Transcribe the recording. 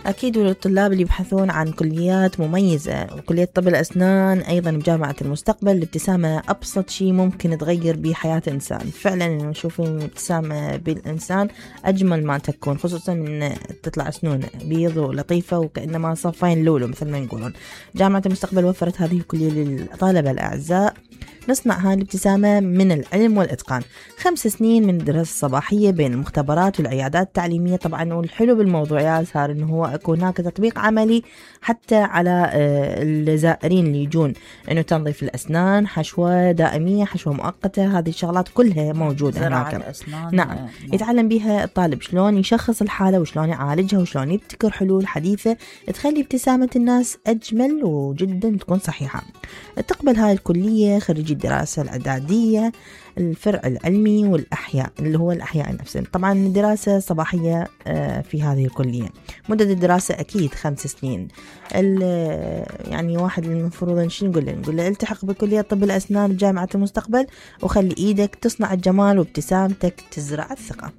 أكيد، والطلاب اللي يبحثون عن كليات مميزة وكلية طب الأسنان أيضا بجامعة المستقبل، الابتسامة أبسط شيء ممكن تغير به حياة إنسان. فعلا نشوف الابتسامة بالإنسان أجمل ما تكون، خصوصا من تطلع أسنون بيض ولطيفة وكأنما صفين لولو مثل ما يقولون. جامعة المستقبل وفرت هذه الكلية للطلبة الأعزاء. نصنع هاي الابتسامة من العلم والإتقان. 5 سنين من الدراسة الصباحية بين المختبرات والعيادات التعليمية. طبعا والحلو بالموضوع يا صار إنه هو يكون هناك تطبيق عملي حتى على الزائرين اللي يجون، إنه تنظيف الأسنان، حشوة دائمية، حشوة مؤقتة، هذه الشغلات كلها موجودة هناك. نعم، يتعلم بها الطالب شلون يشخص الحالة وشلون يعالجها وشلون يبتكر حلول حديثة تخلي ابتسامة الناس أجمل وجدا تكون صحيحة. تقبل هاي الكلية خريجي الدراسة الإعدادية، الفرع العلمي والأحياء اللي هو الأحياء نفسه. طبعا الدراسة صباحية في هذه الكلية. مدة الدراسة أكيد 5 سنين. يعني واحد المفروض نقول له التحق بكلية طب الأسنان بجامعة المستقبل وخلي إيدك تصنع الجمال وابتسامتك تزرع الثقة.